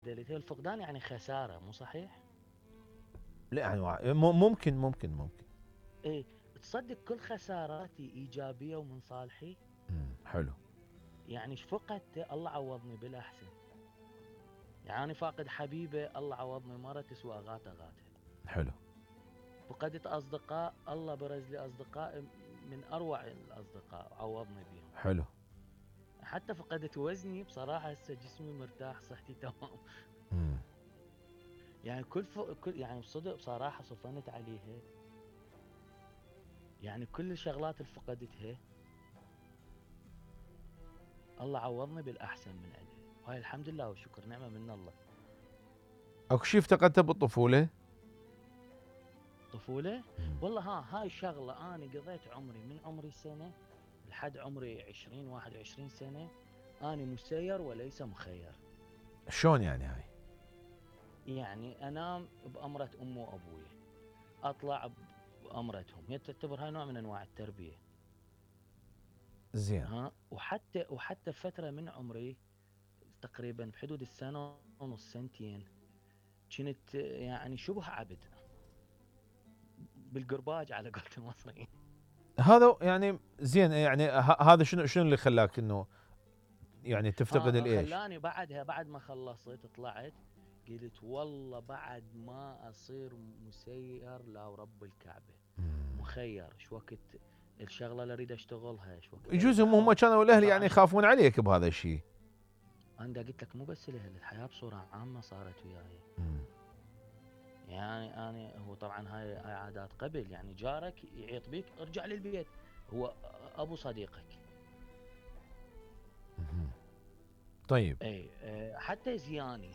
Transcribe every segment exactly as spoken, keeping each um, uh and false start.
دليل الفقدان يعني خسارة، مو صحيح؟ لا يعني ممكن ممكن ممكن ايه، تصدق كل خساراتي ايجابية ومن صالحي. امم حلو. يعني ايش فقدته الله عوضني بالاحسن. يعني انا فاقد حبيبة، الله عوضني مرة تسوى اغات اغاتها. حلو. فقدت اصدقاء، الله برز لي اصدقاء من اروع الاصدقاء عوضني بيهم. حلو. حتى فقدت وزني بصراحة، هسه جسمي مرتاح، صحتي تمام. امم يعني كل ف... كل يعني بصدق بصراحة صفنت عليها. يعني كل الشغلات اللي فقدتها الله عوضني بالاحسن من عندها، وهاي الحمد لله والشكر نعمة من الله. اكو شيء افتقدته بالطفولة؟ طفولة؟ مم. والله ها هاي شغلة أنا قضيت عمري من عمري سنة لحد عمري عشرين واحد وعشرين سنة أنا مسير وليس مخير. شلون يعني هاي؟ يعني أنام بأمرة أمي وأبوي، أطلع بأمرتهم، هي تعتبر هاي نوع من أنواع التربية. زين. ها وحتى وحتى فترة من عمري تقريبا بحدود السنة ونص سنتين كنت يعني شبه عبد بالقرباج على قولة المصريين. هذا يعني زين، يعني ه- هذا شنو شنو اللي خلاك انه يعني تفتقد ها الايش؟ خلاني بعدها بعد ما خلصت طلعت قلت والله بعد ما اصير مسير لا ورب الكعبة مم. مخير، شو وقت الشغلة اللي اريد اشتغلها، شو وقت يجوز اريد هم هم احط. كانوا الاهل يعني طبعا يخافون عليك بهذا الشيء. انا دا قلت لك مو بس الاهل، الحياة بصورة عامة صارت وياي. مم. يعني انا هو طبعا هاي هاي عادات قبل، يعني جارك يعيط بيك ارجع للبيت، هو ابو صديقك. مم. طيب اي أه، حتى زياني.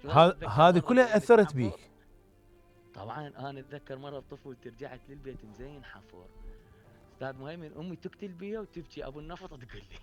والله هذا اتذكر هذه مرة كلها مزين اثرت حفر. بيك؟ طبعا انا اتذكر مره بطفولتي رجعت للبيت مزين حفور، استاذ مهيمن امي تقتل بيا وتبكي ابو النفط تقول لي